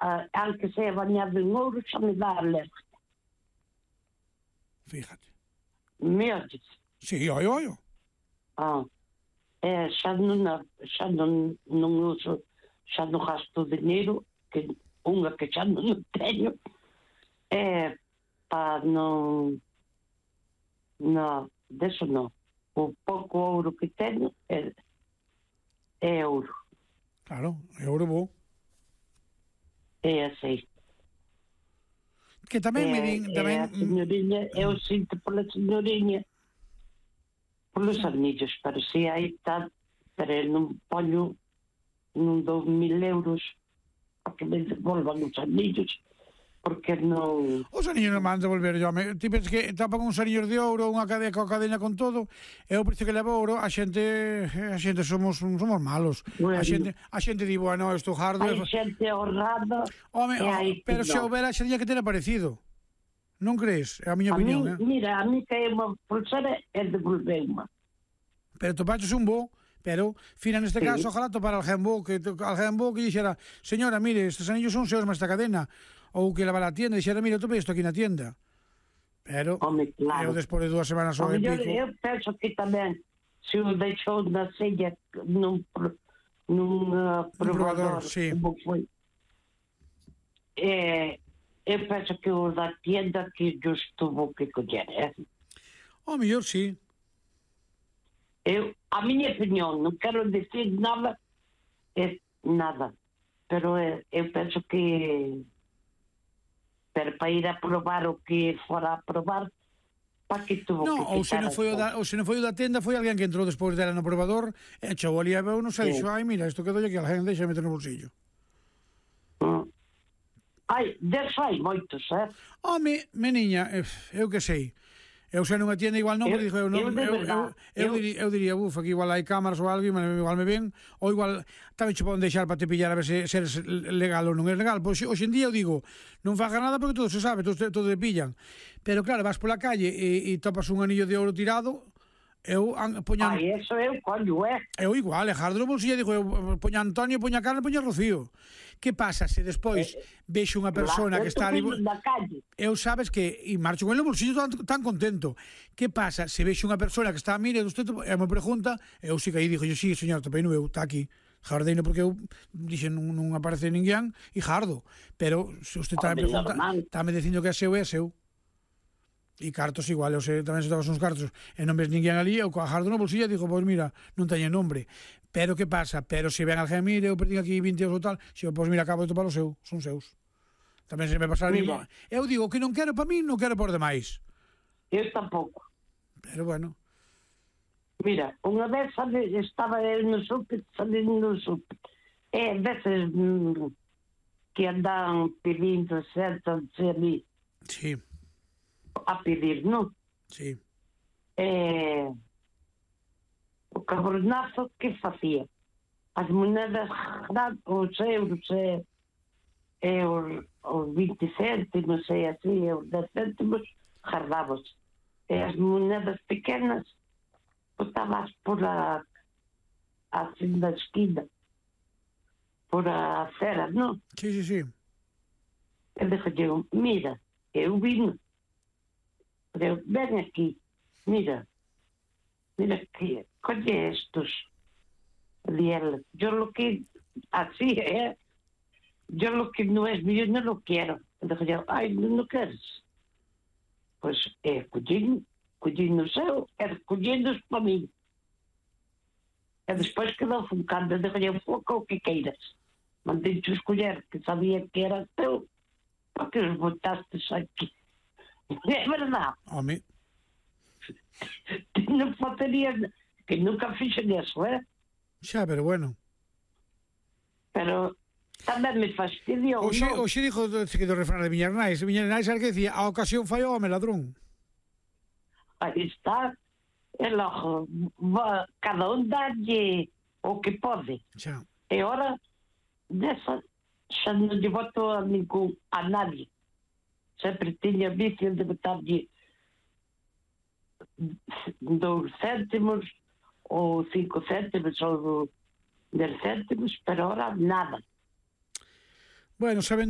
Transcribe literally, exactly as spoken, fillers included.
a, aunque sea bañado en ouro, xa me dá alergia. Fíjate. Me oyes? Sí, oio, oio. Ah, é, xa non, xa non, non uso, xa non gasto dinheiro, que unha que xa non teño, é para non, non, deso non. O pouco ouro que teño é, é ouro. Claro, é ouro bo. É así. Que tamén me din... É a señoriña, eu sinto pola señoriña, polos anillos, pero si aí está, pero eu non poño, non dou mil euros para que me devolvan os anillos, porque non... Os anillos non van devolver, yo. Ti pensas que tapan uns anillos de ouro, unha cadena coa cadena con todo, e o precio que leva ouro, a xente, a xente somos somos malos. Bueno, a xente, a xente di, bueno, isto hardo... Hai xente honrada, Home, e hai pero que se non. houbera xería que ter aparecido. Non crees? É a miña A opinión, mí, eh? mira, a mí que é unha pulsera e devolveu-ma. Pero topaches un bo, pero, fina neste Sí. caso, ojalá topar alguén bo, que alguén bo que dixera, señora, mire, estes anillos son seus, mas esta cadena, ou que leva a tienda, dixera, mire, topei isto aquí na tienda. Pero, Home, claro. eu despois de dúas semanas O ou e mellor, pico... eu penso que tamén, se o deixou na sella nun, pro- nun uh, probador, probador, sí. como foi, eh, eu penso que o da tienda que yo estuvo que coller, eh? O mellor, sí. Eu, a miña opinión, non quero decir nada, é nada, pero eh, eu penso que pero para ir a probar o que fora a probar, para que tuvo No, que ou se quitar non foi o da, ou se non foi o da tenda, foi alguén que entrou despois dela no probador, e chegou ali a ver, non sei, Sí. dixo, ai, mira, isto quedou aquí, alguén deixa meter no bolsillo. Mm. Ai, deso hai moitos, eh? Home, meniña, eh, eu que sei. Eu sei nunha tienda igual non, Eu- pero dixo, eu, non, eu de eu, eu, verdad, eu, eu- diría, eu diría, buf, aquí igual hai cámaras ou algo, igual me ven, ou igual tamén che poden deixar para te pillar a ver se, se eres legal ou non é legal. Pois hoxe en día eu digo, non faga nada porque todo se sabe, todo, todo te pillan. Pero claro, vas pola calle e, e topas un anillo de ouro tirado, eu an, poñan... Ai, eso eu collo, eh? Eu igual, e jardo no bolsillo, digo, eu poña Antonio, poña Carmen, poña Rocío. Que pasa se despois vexo unha persona Claro, que está ali... na calle. Eu sabes que, e marcho con ele no bolsillo tan, tan contento. Que pasa se vexo unha persona que está a mire, usted, e me pregunta, eu si que aí dixo, yo, sí, señor, topei no eu, está aquí. Jardeino porque eu dixen non, non aparece ninguén e jardo. Pero se usted está me pregunta, está me dicindo que é seu, é seu. E cartos igual, eu sei, tamén se tabas uns cartos e non ves ninguén ali, eu coa jardo no bolsillo e digo, pois mira, non teño nombre. Pero que pasa? Pero se ven alguén, mire, eu perdín aquí vinte euros ou tal, se eu, pois mira, acabo de topar o seu, son seus. Tamén se me pasa a mí. Eu digo que non quero para mí, non quero por demais. Eu tampouco. Pero bueno. Mira, unha vez sabe, estaba eu no súper, salindo no súper. E veces mm, que andan pedindo, sentan-se ali Sí, a pedir, non? sí. E o cabronazo que facía? As monedas grandes, os euros e, e os, os vinte céntimos e así, os dez céntimos, jardábos. E as monedas pequenas botabas por a así na esquina, por a acera, non? Sí, sí, sí. E dixo, mira, eu vino. Pero ven aquí, mira, mira que, colle estos. Y él, yo lo que, así, ¿eh? Yo lo que no es mío no lo quiero. Dije yo, ay, no, no quieres. Pues, eh, collín, collín no seu, e collindos para mí. E despois quedou funcando, dije yo, foca o que queiras. Mandei-te escolher, que sabía que era teu, porque os botastes aquí. É verdade. Home. Non faltaría, que nunca fixen eso, eh? Xa, pero bueno. Pero tamén me fastidiou, Oxe, non? oxe dixo que do refrán de Miñarnais, Miñarnais era que decía, a ocasión fai o home ladrón. Aí está. E logo, va, cada un dalle o que pode. Xa. E ora, desa, xa non lle voto a ningún, a nadie. Sempre tiña vicio de botarlle dous céntimos ou cinco céntimos ou dez céntimos, pero ora nada. Bueno, saben